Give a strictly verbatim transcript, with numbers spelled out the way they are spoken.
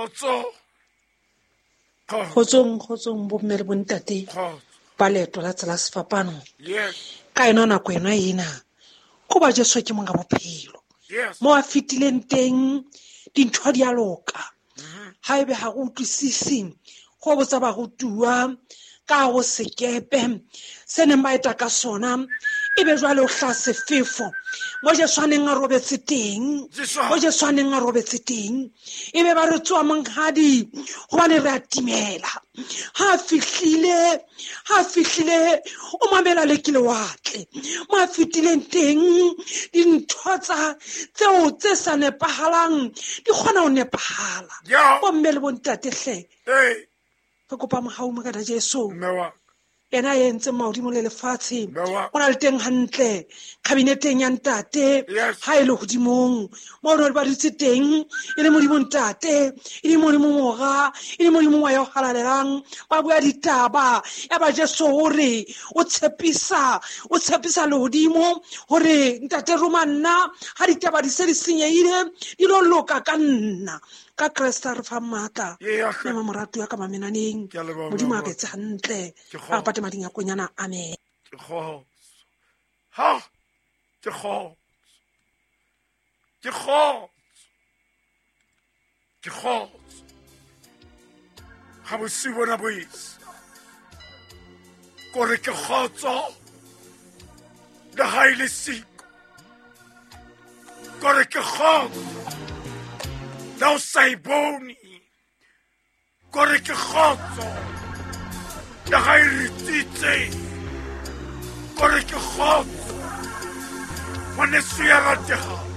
Kgotso. Kgotsong, kgotsong bomme le bontate ba leeto la tsela sefapano. Yes. Ka yona nako ena ena ko ba Jesu ke monga bophelo. Yes. Mo a fetileng teng dintho di a loka. Ha ebe ha go utlwisise go botsa barutuwa ka go sekepe se neng ba eta ka sona ebe jwale o hla sefefo mo Jesu a neng a robetse teng, mo Jesu a neng a robetse teng ebe ba re tsoa monghadi hobane re a timela. Ha fihlile, ha fihlile o mamela le ke lewatle mo a fetileng teng dintho tsa tseo tse sa nepahalang di kgona ho nepahala. Bomme le bontate hle, re kopa mohau Morena Jesu ena e entseng mahodimo le lefatshe o na le teng hantle kabineteng ya ntate ha e le hodimong mo re ba dutse teng e le Modimo ntate e le Modimo mora e le Modimo wa ya halalelang ba bua ditaba ya ba Jesu hore o tshepisa o tshepisa lehodimo hore ntate roma nna ha ditaba di se di senyehile di lo loka ka nna ka Kreste re fa matla mme moratu ya ka mamenaneng Modimo a ketse hantle a pate mading a konyana. Amen. Ke kgotso. Ha ke kgotso. Ke kgotso. Ke kgotso. Ha bosiu bona bo esa kore ke kgotso le ha e le siko kore ke kgotso le o sa e bone kore ke kgotso le ha e ritsitse kore ke kgotso ngwaneso ya ratehang.